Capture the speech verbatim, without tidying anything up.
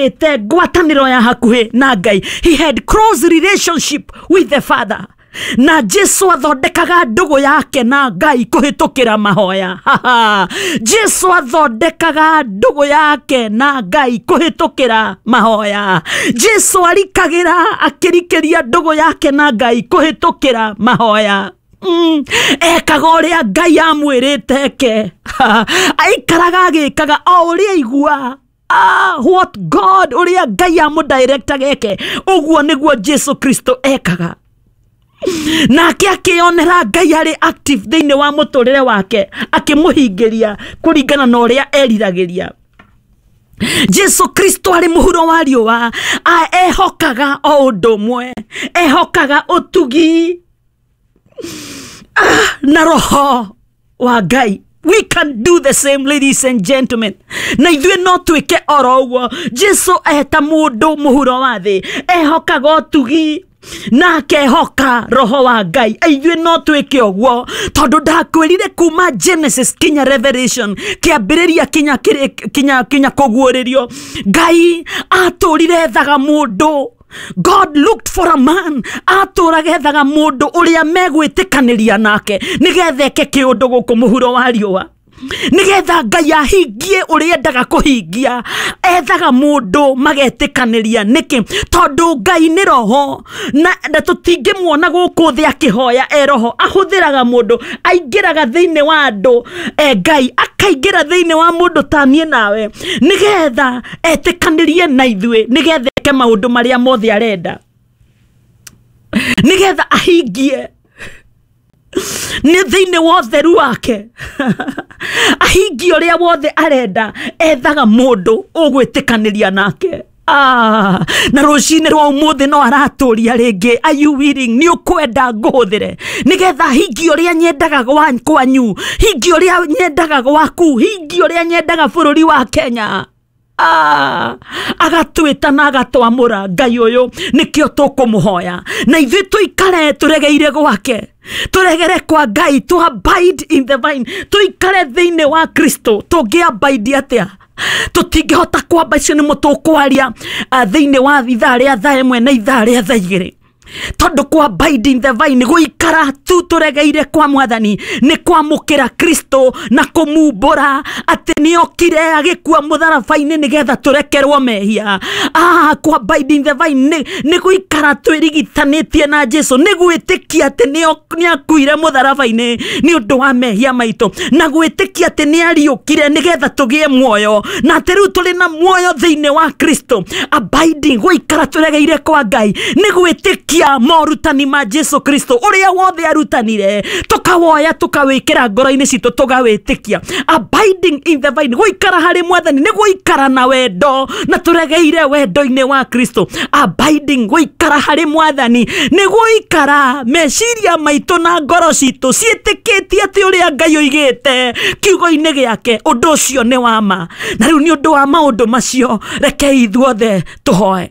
Aigĩte ngwatanĩro ya hakuhĩ na Ngai. He had close relationship with the Father. Na Jesu athondekaga ndũgũ yake na Ngai kũhĩtũkĩra mahoya. Jesu athondekaga ndũgũ yake na Ngai kũhĩtũkĩra mahoya. Jesu arikagĩra akĩrikĩria ndũgũ yake na Ngai kũhĩtũkĩra mahoya. Mm. Ekaga ũrĩa Ngai amwĩrĩte eke. Aikaraga agĩkaga o ũrĩa aigua. Ah, what God ũrĩa Ngai amũdirectaga eke, ũguo nĩguo Jesu Kristo ekaga. Nake akĩonera Ngai arĩ active thĩinĩ wa mũtũrĩre wake, akĩmũhingĩria kũringana na ũrĩa eriragĩria. Jesu Kristo arĩ mũhuro wa riũa, ehokaga o ũndũ ũmwe, ehokaga ũtugi ah, na roho wa Ngai. We can do the same, ladies and gentlemen. Na ithuĩ no twĩke oro ũguo. Jesu eta mũndũ mũhuro wa thĩ, ehokaga ũtugi na akehoka roho wa Ngai. Ithuĩ no twĩke ũguo, tondũ ndakwĩrire kuma Genesis kinya Revelation, kĩambĩrĩria kinya kinya kinya kũguũrĩrio, Ngai atũrire ethaga mũndũ. God looked for a man. Atũraga ethaga mũndũ ũrĩa megwĩtĩkanĩria nake nĩgetha eke kĩũndũ gũkũ mũhuro wa riũa, nĩgetha Ngai ahingie ũrĩa endaga kũhingia. Ethaga mũndũ magetĩkanĩria. Nĩkĩ? Tondũ Ngai nĩ roho, na, na tũtingĩmuona gũkũ thĩ akĩhoya e roho. Ahũthĩraga mũndũ, aingĩraga thĩinĩ wa andũ, e Ngai akaingĩra thĩinĩ wa mũndũ ta niĩ nawe, nĩgetha etĩkanĩrie na ithuĩ, nĩgetha eke maũndũ marĩa mothe arenda, nĩgetha ahingie nĩ thĩinĩ wa ũtheru wake, ahingie ũrĩa wothe arenda. Ethaga mũndũ ũgwĩtĩkanĩria nake. Ah, na rũcinĩ rwa ũmũthĩ no aratũria rĩngĩ, are you willing? Nĩ ũkwenda ngũhũthĩre nĩgetha hingie ũrĩa nyendaga kwanyu, hingie ũrĩa nyendaga gwaku, hingie ũrĩa nyendaga bũrũri wa Kenya. Ah, agatwĩta na agatwamũra. Ngai ũyũ nĩkĩo tũkũmũhoya, na ithuĩ tũikare tũregeire gwake, tũregere kwa Ngai, to abide in the vine, tũikare thĩinĩ wa Kristo. Tũngĩ abide atĩa? Tũtingĩhota kwamba. Icio nĩmo tũkwaria thĩinĩ wa ithaa rĩa thaa ĩmwe na ithaa rĩa thaa igĩrĩ, tondũ kwa abide in the vine, gũikara tu tũregeire kwa Mwathani, nĩ kwamũkĩra Kristo na kũmumbũra atĩ nĩokire agĩkua mũtharaba-inĩ nĩgetha tũrekerwo mehia. Ah, kwa abide in the vine nĩ gũikara twĩrigitanĩtie na Jesu, nĩ gwĩtĩkia atĩ nĩakuire mũtharaba-inĩ nĩ ũndũ wa mehia maitũ, na gwĩtĩkia atĩ nĩariũkire nĩgetha tũgĩe muoyo, na atĩ rĩu tũrĩ na muoyo thĩinĩ wa Kristo. Abiding, gũikara tũregeire kwa Ngai, nĩ gwĩtĩkia morutani ma Jesu Kristo ũrĩa wothe arutanire, tukawoya tukawĩkĩra ngoro-inĩ citũ, tũgawĩtĩkia. Abiding in the vine, gũikara harĩ Mwathani nĩ gũikara na wendo na tũregeire wendo-inĩ wa Kristo. Abiding, gũikara harĩ Mwathani nĩ gũikara meciria maitũ na ngoro citũ ciĩtĩkĩtie atĩ ũrĩa Ngai oigĩte kiugo-inĩ gĩake ũndũ ũcio nĩ wa ma. Na rĩu nĩ ũndũ wa maũndũ macio, rekei ithuothe tũhoe.